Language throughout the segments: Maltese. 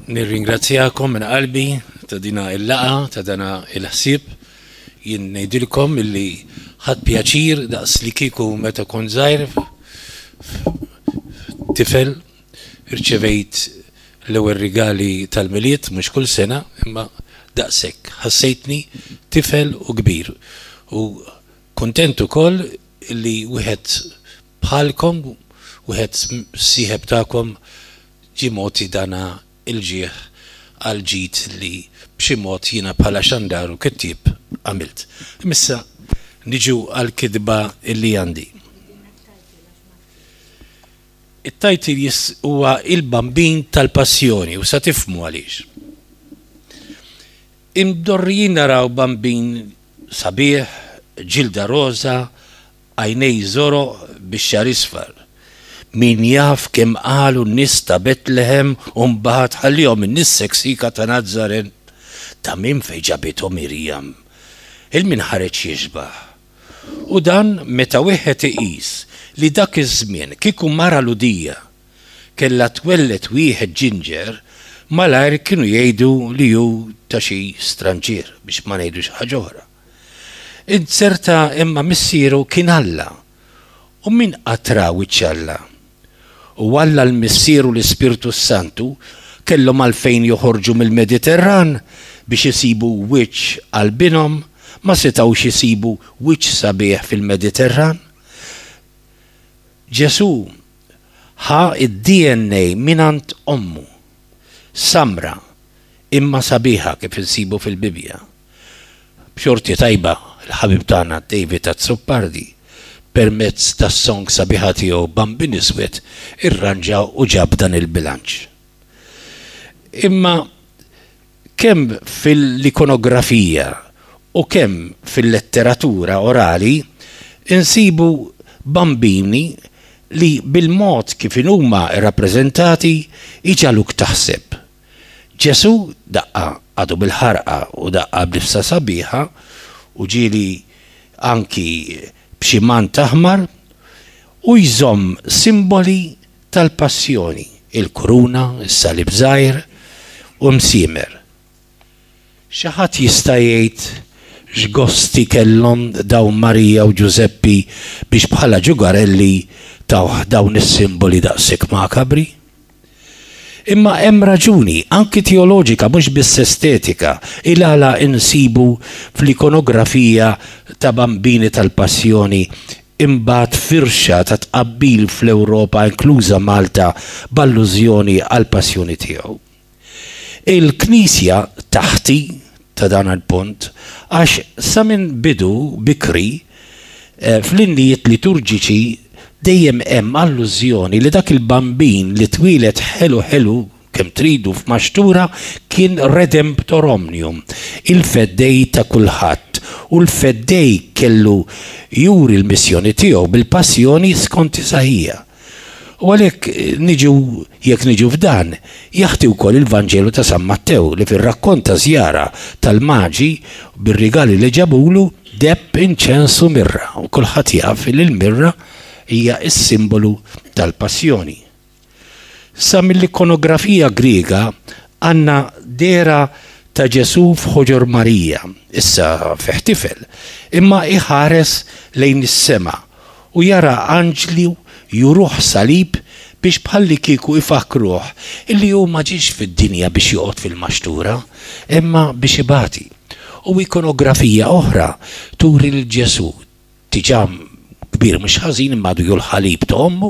Nirringrazzjakom minn qalbi ta' dina il-laqgħa, ta' dana il-ħsieb. Jien ngħidilkom illi ħadt pjaċir daqs li kieku meta kont żgħir tifel irċevejt l-ewwel rigali tal-Milied, mhux kull sena, imma daqshekk. Ħassejtni tifel u kbir. U kuntent ukoll li wieħed bħalkom, wieħed sieħeb tagħkom ġie mogħti dana il-ġieħ għall-ġid li b'xi mod jiena bħala xandar u kittieb għamilt. Imma issa niġu għall-kitba li għandi. It-title huwa Il-Bambin tal-Passjoni u sa tifhmu għaliex. Imdorrijin naraw bambin sabiħ, ġilda roża, għajnej żoroq bix-xagħar isfar. Min jaf kemm qalu n-nies ta' Betlehem u mbagħad ħallihom in-nies seksika ta' Nazaret ta' minn fejn ġabithom Mirjam. Il min ħareġ jixbah. U dan meta wieħed iqis li dak iż-żmien kieku mara Lhudija kellha twelled wieħed ġinġer, malajr kienu jgħidu li hu ta' xi stranġier, biex ma ngħidux ħaġa oħra. Inzerta imma missieru kien Alla. U min qatt ra wiċċ Alla? U Alla l-Missier u l-Ispirtu s-Santu kellhom għalfejn joħorġu mill-Mediterran biex isibu wiċċ għal binhom? Ma setgħux isibu wiċċ sabiħ fil-Mediterran? Ġesù ħa d-DNA mingħand ommu, samra imma sabiħa kif insibu fil-Bibbja. B'xorti tajba l-ħabib tagħna David Azzopardi permezz tas-song sabiħa tiegħu Bambin Iswed irranġa u ġab dan il-bilanċ. Imma kemm fil-ikonografija u kemm fil-letteratura orali insibu bambini li bil-mod kif inhuma rrappreżentati jġagħluk taħseb. Ġesù daqqa għadu bil-ħarqa u daqqa b'libsa sabiħa u ġieli anki b'xi mant aħmar u jżomm simboli tal-passjoni, il-kuruna, is-salib żgħir u msiemer. Xi ħadd jista' jgħid x'gosti kellhom dawn Marija u Ġużeppi biex bħala ġugarelli tawh dawn is-simboli daqshekk makabri? Imma hemm raġuni, anki teoloġika mhux biss estetika, il-għala insibu fl-ikonografija ta' bambini tal-Passjoni imbagħad firxa ta' tqabbil fl-Ewropa inkluża Malta b'allużjoni għall-Passjoni tiegħu. Il-Knisja taħti ta' dan il-punt għax sa minn bidu bikri fl-innijiet liturġiċi dejjem hemm allużjoni li dak il-Bambin li twieled ħelu ħelu kemm tridu f'maxtura kien Redemptor Omnium, il-Feddej ta' kulħadd, u l-Feddej kellu juri l-missjoni tiegħu bil-passjoni skont Isaija. U għalhekk niġu, jekk niġu f'dan, jaħti wkoll il-Vanġelu ta' San Mattew li fir-rakkont ta' żjara tal-Maġi bir-rigali li ġabulu, deheb, inċens u mirra. U kulħadd jaf li l-mirra hija s-simbolu tal-passjoni. Sa mill-ikonografija Griega għandna dehra ta' Ġesù f'ħoġor Marija, issa fih tifel, imma iħares lejn is-sema u jara anġli juruh salib biex bħallikieku ifakkruh illi hu ma ġiex fid-dinja biex joqgħod fil-maxtura, imma biex ibati. U ikonografija oħra turi lil Ġesù diġà kbir mhux ħażin imma għadu jol-ħalib ta' ommu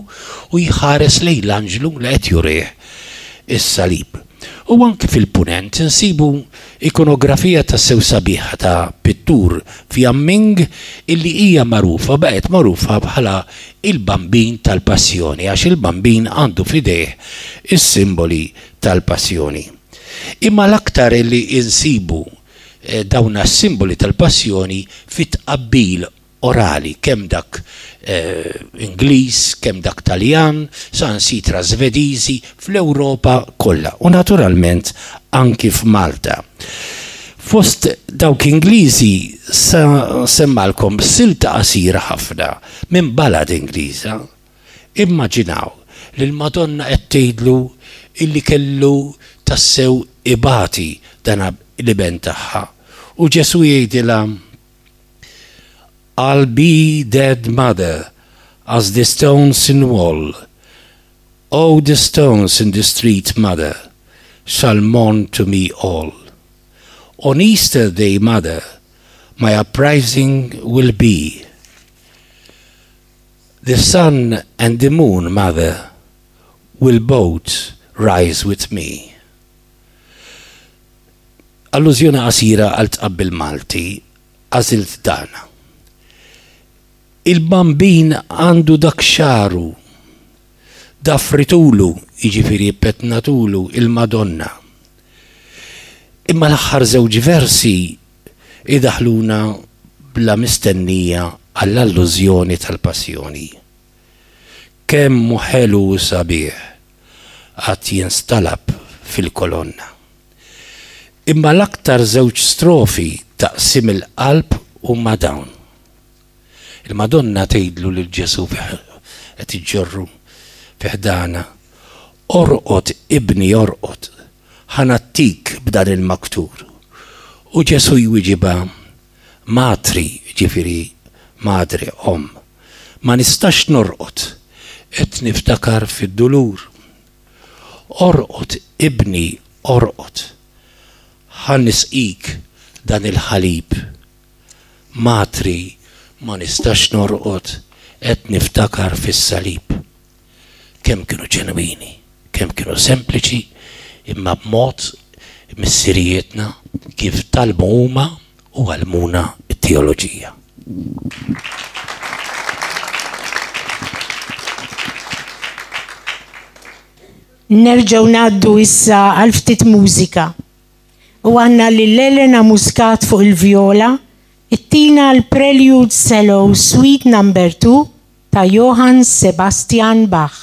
u jħares lejn l-anġlu li qed jurih is-salib. U anki fil-Punent insibu ikonografija tassew sabiħa ta' pittur Fjamming illi hija magħrufa, baqgħet magħrufa bħala il-Bambin tal-Passjoni għax il-Bambin għandu f'idejh is-simboli tal-Passjoni. Imma l-aktar illi insibu dawn s-simboli tal-Passjoni fit-tqabbil orali, kemm dak Ingliż, kemm dak Taljan, saħansitra Svediżi, fl-Ewropa kollha u naturalment anki f'Malta. Fost dawk Ingliżi sa nsemmalkom silta qasira ħafna minn balad Ingliża. Immaġinaw li l-Madonna qed tgħidlu illi kellu tassew ibati dan l-iben tagħha. U Ġesù jgħidilha, I'll be dead mother as the stones in wall, oh the stones in the street mother shall mourn to me all. On Easter day mother my uprising will be. The sun and the moon mother will both rise with me. Allużjoni qasira għal tqabbil Malti għażilt dan. Il-Bambin għandu dak xagħru, dafritulu, jiġifieri ppetnatulu il-Madonna. Imma l-aħħar żewġ versi idaħħluna bla mistennija għall-allużjoni tal-Passjoni. Kemm hu ħelu u sabiħ għad jinstalab fil-kolonna. Imma l-aktar żewġ strofi ta' qsim il-qalb huma dawn. Il-Madonna tgħidlu lil Ġesù qed iġġorru fi ħdanha, Orqod ibni orqod, ħa nagħtik b'dan il-maktur. U Ġesù jwiġibha, Matri, jiġifieri madre, omm, ma nistax norqod, qed niftakar fid-dulur. Orqod ibni orqod, ħa nisqik dan il-ħalib. Matri, ma nistax norqod, qed niftakar fis-salib. Kemm kienu ġenwini, kemm kienu sempliċi, imma b'mod missirijietna kif tgħallmu huma u għallmuna t-teoloġija. Nerġgħu ngħaddu issa għal ftit mużika. U għandna lil Elena Muscat fuq il-vjola ttina l-Prelude Cello Suite Number 2 ta' Johann Sebastian Bach.